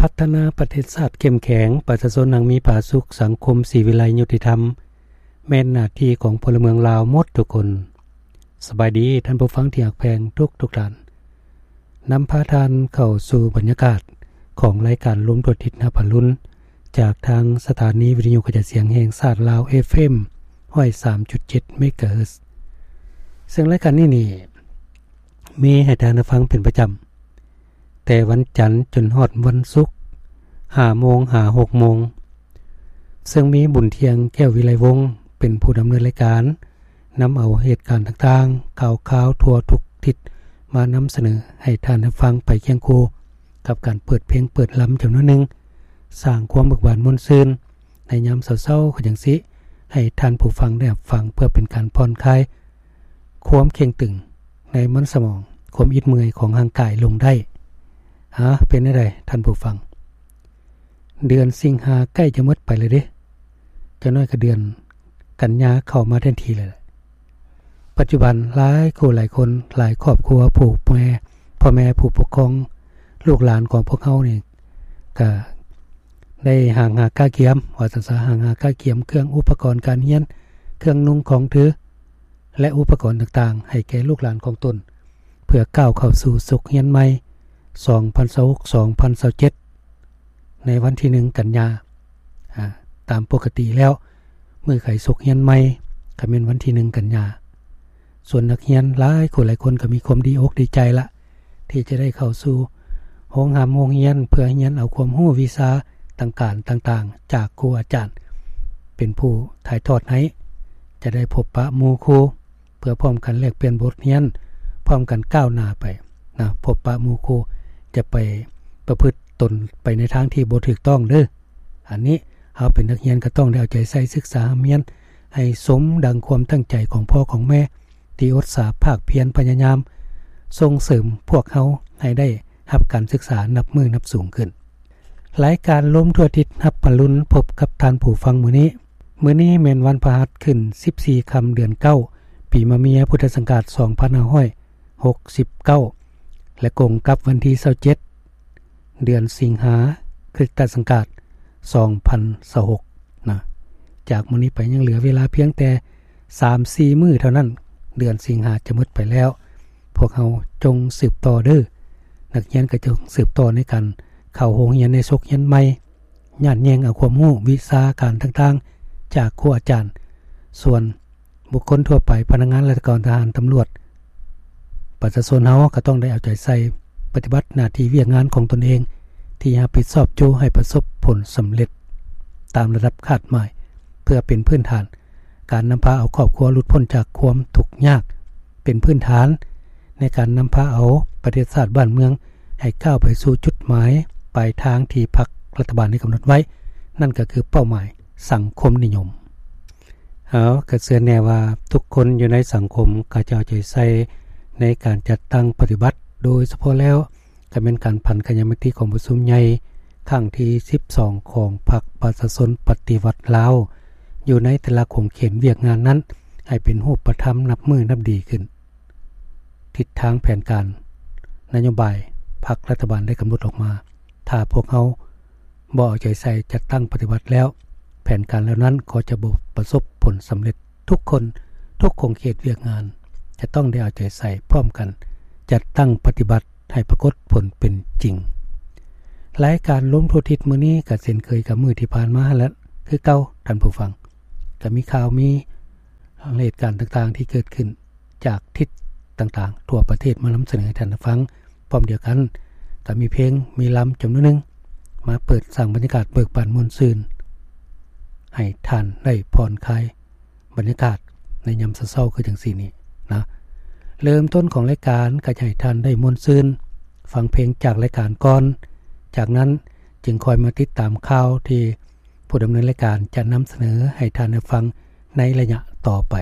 ພັດທະນາປະເທດຊາດເຂັ້ມແຂງ, ປະຊາຊົນຮັ່ງມີຜາສຸກ, ສັງຄົມສີວິໄລຍຸຕິທຳ ແມ່ນໜ້າທີ່ຂອງພົນລະເມືອງລາວໝົດທຸກຄົນ. ສະບາຍດີທ່ານຜູ້ຟັງທີ່ຮັກແພງທຸກໆທ່ານ. ນຳພາທ່ານເຂົ້າສູ່ບັນຍາກາດຂອງລາຍການລົມທົ່ວທິດຮັບອະລຸນ ຈາກທາງສະຖານີວິທະຍຸກະຈາຍສຽງແຫ່ງຊາດລາວ ເອຟເອັມ ຮ້ອຍສາມຈຸດເຈັດ ເມກາເຮີດ. ເຊິ່ງລາຍການນີ້ນີ້ ມີໃຫ້ທ່ານໄດ້ຟັງເປັນປະຈຳ ແຕ່ວັນຈັນຈົນຮອດວັນສຸກ ຫ້າໂມງຫາຫົກໂມງ, ເຊິ່ງມີບຸນທ່ຽງ ແກ້ວວິໄລວົງ ເປັນຜູ້ດຳເນີນລາຍການ, ນຳເອົາເຫດການຕ່າງໆ ຂ່າວຄາວທົ່ວທຸກທິດ ມານຳສະເໜີໃຫ້ທ່ານໄດ້ຟັງໄປຄຽງຄູ່ກັບການເປີດເພງເປີດລຳຈຳນວນໜຶ່ງ, ສ້າງຄວາມເບີກບານມ່ວນຊື່ນໃນຍາມເຊົ້າໆ ຄືຈັ່ງຊີ້ ໃຫ້ທ່ານຜູ້ຟັງໄດ້ຮັບຟັງ ເພື່ອເປັນການຜ່ອນຄາຍ ຄວາມເຄັ່ງຕຶງໃນມັນສະໝອງ, ຄວາມອິດເມື່ອຍຂອງຮ່າງກາຍລົງໄດ້. ຫາ ເປັນແນວໃດທ່ານຜູ້ຟັງ? ເດືອນສິງຫາໃກ້ຈະໝົດໄປແລ້ວເດ້, ຈັກໜ້ອຍກໍເດືອນກັນຍາເຂົ້າມາແທນທີ່ແລ້ວ. ປັດຈຸບັນຫຼາຍຄູ່ຫຼາຍຄົນ, ຫຼາຍຄອບຄົວ, ຜູ້ແມ່, ພໍ່ແມ່, ຜູ້ປົກຄອງ, ລູກຫຼານຂອງພວກເຮົານີ້ ກະໄດ້ຫ້າງຫາກະກຽມ, ວ່າຊັ້ນຊະ, ຫ້າງຫາກະກຽມເຄື່ອງອຸປະກອນການຮຽນ, ເຄື່ອງນຸ່ງຂອງຖື ແລະ ອຸປະກອນຕ່າງໆ ໃຫ້ແກ່ລູກຫຼານຂອງຕົນ ເພື່ອກ້າວເຂົ້າສູ່ສົກຮຽນໃໝ່ ສອງພັນຊາວຫົກ ສອງພັນຊາວເຈັດ ໃນວັນທີໜຶ່ງ ກັນຍາ. ອາ, ຕາມປົກກະຕິແລ້ວ, ມື້ໄຂສົກຮຽນໃໝ່ ກໍແມ່ນວັນທີໜຶ່ງ ກັນຍາ. ສ່ວນນັກຮຽນຫຼາຍຄົນຫຼາຍຄົນກໍມີຄວາມດີອົກດີໃຈລະ ທີ່ຈະໄດ້ເຂົ້າສູ່ໂຮງຮ່ຳໂຮງຮຽນ ເພື່ອຮຽນເອົາຄວາມຮູ້ວິຊາຕ່າງການຕ່າງໆ ຈາກຄູອາຈານ ເປັນຜູ້ຖ່າຍທອດໃຫ້, ຈະໄດ້ພົບປະໝູ່ຄູ່ ເພື່ອພ້ອມກັນແລກປ່ຽນບົດຮຽນ, ພ້ອມກັນກ້າວໜ້າໄປນະ, ພົບປະໝູ່ຄູ່ ຈະໄປປະພຶດຕົນໄປໃນທາງທີ່ບໍ່ຖືກຕ້ອງເດີ້. ອັນນີ້ເຮົາເປັນນັກຮຽນກໍຕ້ອງໄດ້ເອົາໃຈໃສ່ສຶກສາຮ່ຳຮຽນໃຫ້ສົມດັ່ງຄວາມຕັ້ງໃຈຂອງພໍ່ຂອງແມ່ ທີ່ອຸດສາພາກພຽນພະຍາຍາມສົ່ງເສີມພວກເຮົາໃຫ້ໄດ້ຮັບການສຶກສານັບມື້ນັບສູງຂຶ້ນ. ລາຍການລົມທົ່ວທິດຮັບອະລຸນ ພົບກັບທ່ານຜູ້ຟັງມື້ນີ້. ມື້ນີ້ແມ່ນວັນພະຫັດ ຂຶ້ນສິບສີ່ຄ່ຳເດືອນເກົ້າ ປີມະເມຍ ພຸດທະສັງກາດສອງພັນຫ້າຮ້ອຍຫົກສິບເກົ້າ ແລະ ກົງກັບວັນທີຊາວເຈັດ ເດືອນສິງຫາ ຄຣິສຕະສັງກາດສອງພັນຊາວຫົກນະ. ຈາກມື້ນີ້ໄປຍັງເຫຼືອເວລາພຽງແຕ່ສາມສີ່ມື້ເທົ່ານັ້ນ ເດືອນສິງຫາຈະໝົດໄປແລ້ວ. ພວກເຮົາຈົ່ງສືບຕໍ່ເດີ້. ນັກຮຽນກໍຈົ່ງສືບຕໍ່ໃນການເຂົ້າໂຮງຮຽນໃນສົກຮຽນໃໝ່, ຍາດແຍ່ງເອົາຄວາມຮູ້ວິຊາການຕ່າງໆ ຈາກຄູອາຈານ. ສ່ວນ ບຸກຄົນທົ່ວໄປ, ພະນັກງານລັດຖະກອນ, ທະຫານ, ຕຳຫຼວດ, ປະຊາຊົນເຮົາກໍຕ້ອງໄດ້ເອົາໃຈໃສ່ປະຕິບັດໜ້າທີ່ວຽກງານຂອງຕົນເອງ ທີ່ຮັບຜິດຊອບຢູ່ໃຫ້ປະສົບຜົນສຳເລັດຕາມລະດັບຄາດໝາຍ ເພື່ອເປັນພື້ນຖານການນຳພາເອົາຄອບຄົວຫຼຸດພົ້ນຈາກຄວາມທຸກຍາກ, ເປັນພື້ນຖານໃນການນຳພາເອົາປະເທດຊາດບ້ານເມືອງໃຫ້ກ້າວໄປສູ່ຈຸດໝາຍປາຍທາງທີ່ພັກລັດຖະບານໄດ້ກຳນົດໄວ້, ນັ້ນກໍຄືເປົ້າໝາຍ ສັງຄົມນິຍົມ. ເຮົາກໍເຊື່ອແນ່ວ່າທຸກຄົນຢູ່ໃນສັງຄົມກໍຈະເອົາໃຈໃສ່ໃນການຈັດຕັ້ງປະຕິບັດ, ໂດຍສະເພາະແລ້ວກໍແມ່ນການຜັນຂະຫຍາຍມະຕິກອງປະຊຸມໃຫຍ່ຄັ້ງທີສິບສອງຂອງພັກປະຊາຊົນປະຕິວັດລາວ ຢູ່ໃນແຕ່ລະຂົງເຂດວຽກງານນັ້ນ ໃຫ້ເປັນຮູບປະທຳນັບມື້ນັບດີຂຶ້ນ. ທິດທາງແຜນການນະໂຍບາຍພັກລັດຖະບານໄດ້ກຳນົດອອກມາ, ຖ້າພວກເຮົາ ບໍ່ເອົາໃຈໃສ່ຈັດຕັ້ງປະຕິບັດແລ້ວ, ແຜນການເຫຼົ່ານັ້ນກໍຈະບໍ່ປະສົບຜົນສຳເລັດ. ທຸກຄົນ, ທຸກຂົງເຂດວຽກງານ ຈະຕ້ອງໄດ້ເອົາໃຈໃສ່ພ້ອມກັນ ຈັດຕັ້ງປະຕິບັດໃຫ້ປາກົດຜົນເປັນຈິງ. ລາຍການລົມທົ່ວທິດມື້ນີ້ກໍເຊັ່ນເຄີຍກັບມື້ທີ່ຜ່ານມາຫັ້ນແຫຼະ ຄືເກົ່າ, ທ່ານຜູ້ຟັງ. ກໍມີຂ່າວ, ມີເຫດການຕ່າງໆທີ່ເກີດຂຶ້ນ ຈາກທິດຕ່າງໆທົ່ວປະເທດມານຳສະເໜີໃຫ້ທ່ານໄດ້ຟັງ. ພ້ອມດຽວກັນກໍມີເພງ, ມີລຳຈຳນວນໜຶ່ງ ມາເປີດສ້າງບັນຍາກາດເບີກບານມ່ວນຊື່ນ ໃຫ້ທ່ານໄດ້ຜ່ອນຄາຍບັນຍາກາດໃນຍາມເຊົ້າໆຄືຈັ່ງຊີ້ນີ້ນະ. ເລີ່ມຕົ້ນຂອງລາຍການກໍຈະໃຫ້ທ່ານໄດ້ມ່ວນຊື່ນ ຟັງເພງຈາກລາຍການກ່ອນ, ຈາກນັ້ນຈຶ່ງຄ່ອຍມາຕິດຕາມຂ່າວທີ່ຜູ້ດຳເນີນລາຍການຈະນຳສະເໜີໃຫ້ທ່ານໄດ້ຟັງໃນໄລຍະຕໍ່ໄປ.